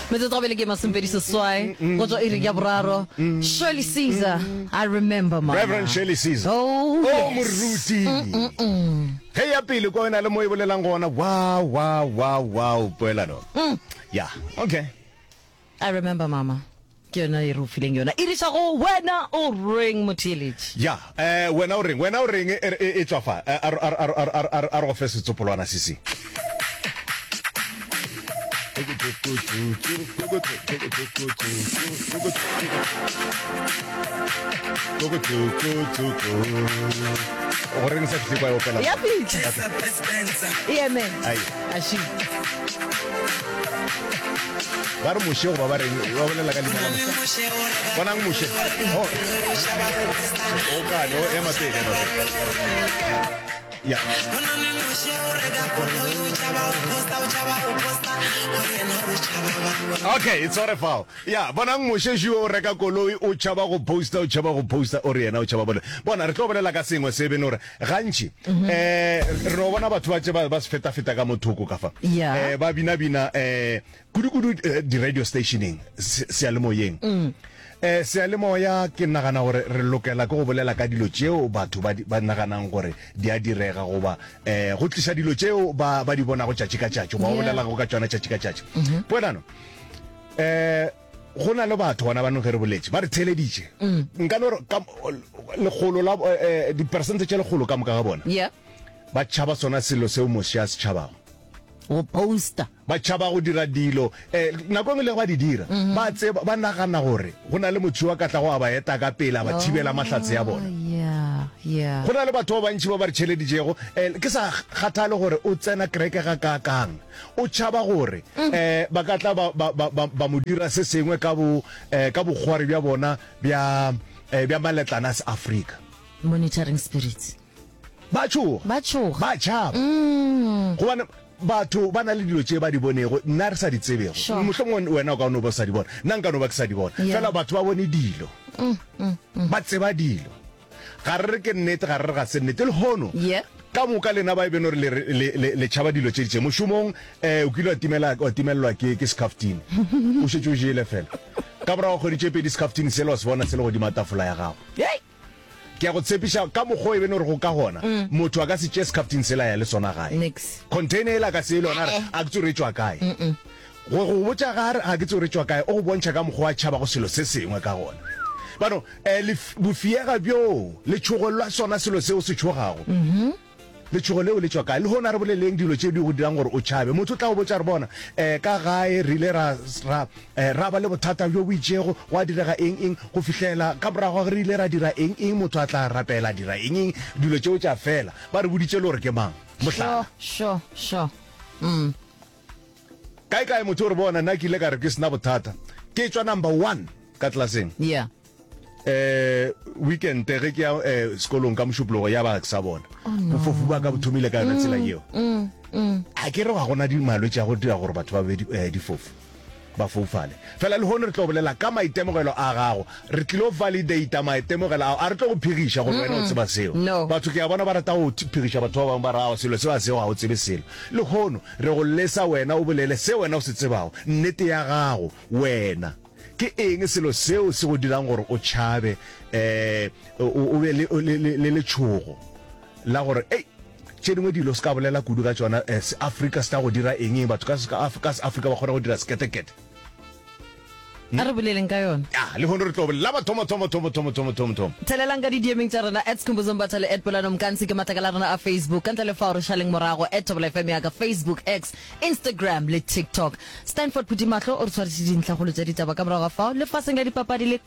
Metsotso gabele ke 26 go tšwa iring ya boraro. Shirley Caesar, I remember mama. Reverend Shirley Caesar. Oh, Oh, yes. moruti. Ge ya pele kwa wena le mo e bolelang gona. Wow, wow, wow, wow, poelano. Yeah, okay. I remember mama. Ke yona e re o fileng yona. E riša go wena o reng motheeletši? Ya, eh, wena o reng? Wena o reng e, e, e tšwa fa? Eh, a, a, a, a, a, a, a re go fe setsopolwana se se. Go reng sa fihle kwa e opela? Ya fitlha. E eme. Ai. Ashi. Ba re Moshe goba ba reng ba bolela ka leina la Moshe. Bonang Moshe. Oh. O kane, o ema pele, ema pele. Ya. Okay, it's all fao. Ya, bonang Moshe šo o reka koloi, o tšhaba go posta, o tšhaba go posta, o re yena o tšhaba bole. Bona, re tlo bolela ka sengwe se beno gore Gantši um re no bona batho ba tše ba ba se feta-feta ka mo thoko ka fa Yeah. um ba bina-bina um kudu-kudu eh, di-radio stationeng se- seyalemoyeng um seyalemoya ke nagana gore re lokela ke go bolela ka dilo tšeo batho ba di- ba naganang gore di a direga goba um go tliša dilo tšeo ba ba di bonago tšatši ka tšatši goba ba Yeah. bolelago ka tšona tšatši ka tšatši poelano um Go na le batho gona banong ge re boletše ba re theeleditše. Nka no re ka lekgolo la eh, diperesente tše lekgolo ka moka ga bona Yeah. ba tšhaba sona selo seo Moshe a se tšhabago. Go posta. Ba tšhaba go dira dilo eh, nako e nngwe le ge ba di dira ba tseba ba nagana gore go na le motho yo a ka tlago a ba eta ka pele a ba thibela mahlatse ya bona. Yeah, yeah. Go na le batho ba bantši ba ba re tšheleditšego eh, ke sa kgathale gore o tsena kereke gakaakang. O tšhaba gore um ba ka tla ba, ba, ba, ba, ba mo dira se sengwe ka bo, um ka bokgwari bja bona bja, um bja maletlana a Seafrika. Monitoring spirits. Ba tšhoga. Ba tšhoga. Ba tšhaba. Gobane batho ba na le dilo tše ba di bonego, nna re sa di tsebego. Sure. Mohlomongwe wena o ka no ba o sa di bona, nna nka no ba ke sa di bona. Yeah. Fela batho ba bone dilo. Ba tseba dilo. Ga re re ke nnete, ga re re ga se nnete. Lehono, Yeah. ka moka lena ba e beno re le, le, le, le tšhaba dilo tše ditše. Mošomong, eh, o kile wa timela, wa timelelwa ke, ke sekhaftine. O šetše o jele fela. Ka morago ga kgwedi tše pedi, sekhaftine sela wa se bona se le godima tafola ya gago. Hei! Ke a go tshepiša, ka mokgwa o e beno re go ka gona, motho a ka se tšee sekhaftine sela a ya le sona gae. Nix. Container yela a ka se ye le yona a re, a ke tsebe re tšwa kae. Go go botša ga a re, ga ke tsebe re tšwa kae, o go bontšha ka mokgwa o a tšhabago selo se sengwe ka gona. Bano, eh, lef, bofiega bjoo, letšhogo la sona selo seo o se tšhogago. Letšhogo leo le tšwa kae? Lehono a re boleleng dilo tše di go dirang gore o tšhabe. Motho o tla go botša re, Bona, eh, ka gae re ile ra, ra, eh, ra ba le bothata bjo bo itšego, gwa direga eng, eng, go fihlela ka morago ga ge re ile ra dira eng, eng, motho a tla rapela, a dira eng, eng, dilo tšeo tša fela. Ba re boditše le gore ke mang. Mohlala. Sure, sure, sure. Mm. Kae kae motho o re bona nna ke ile ka re ke sena bothata ke tšwa number one ka tlelaseng. Yeah. Eh weekend ge ke ya eh, sekolong ka mošupologo ya ba ke sa bona. Oh, no. Bofofu ba ka bo thomile ka yona tsela yeo. Mm, mm. A ke re ga gona di malwetši a go dira gore batho ba be di, eh, difofu ba foufale. Fela lehono re tlo bolela ka maitemogelo a gago. Re tlilo validata maitemogelo ao. A re tlo go phegiša gore wena o tseba seo. No. Batho ke a bona ba rata go phegiša batho ba bangwe ba re aowa selo seo a seo ga o tsebe selo. Lehono re go lesa wena o bolele se wena o se tsebago, nnete ya gago, wena. Ke eng selo seo se go dirang gore o tšhabe, um o, o be le, le, le, le letšhogo la gore, Ei, tše dingwe dilo se ka bolela kudu ka tšona, eh, Seafrika se tla go dira eng, eng, batho ka, ka, ka Seafrika ba kgona go dira seketekete. A re boleleng ka yona. Ya, lehono re tlo bolela la mathomo, thomo, thomo, thomo, thomo, thomo, thomo. Thelelang ka di-DM-eng tša rena at Skhumbuzo Mbatha le at Polano Mkansi ke matlakala a rena a Facebook. Ka ntle le fao re šaleng morago at Thobela FM ya ka Facebook, X, Instagram le TikTok. Stanford Phuthimahlo o re tshwaretše dintlhakgolo tša ditaba ka morago ga fao lefaseng la dipapadi le.